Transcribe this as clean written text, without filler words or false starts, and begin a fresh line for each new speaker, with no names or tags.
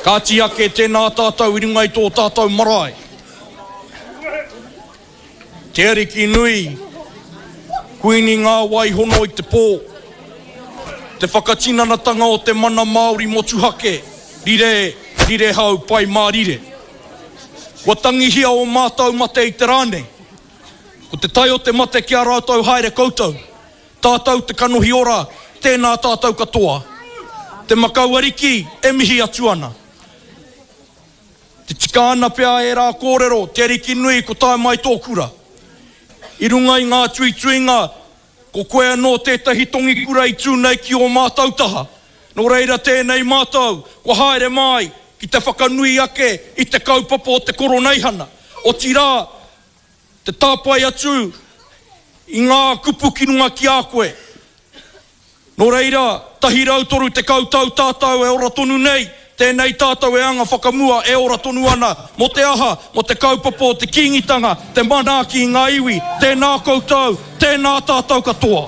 Kāti ake tēnā tātou i runga i tō tātou marae. Te Ariki nui, Kuini ngā wai hono i te pō, te whakatinanatanga o te mana Māori motuhake, rire, rire hau, pai mārire. Kua tangihia ō mātou mate i te rā nei. Ko te tai o te mate ki a rātou haere koutou. Tātou te kanohi ora, tēnā tātou katoa. Te Makau Ariki e mihi atu ana. Te tika ana pea ērā kōrero, Te Ariki nui ko tae mai tō kura. I runga i ngā tuituinga, ko koe anō tētahi tongikura i tū nei ki ō mātou taha. Nō reira tēnei mātou, kua haere mai ki te whakanui ake i te kaupapa o te Koroneihana. Otirā, te tāpae atu i ngā kupu ki runga ki a koe. Nō reira, 130 tau tātou e ora tonu nei, tēnei tātou e anga whakamua e ora tonu ana, mō te aha, mō te kaupapa o te Kīngitanga, te manaaki i ngā iwi, tēnā koutou, tēnā tātou katoa.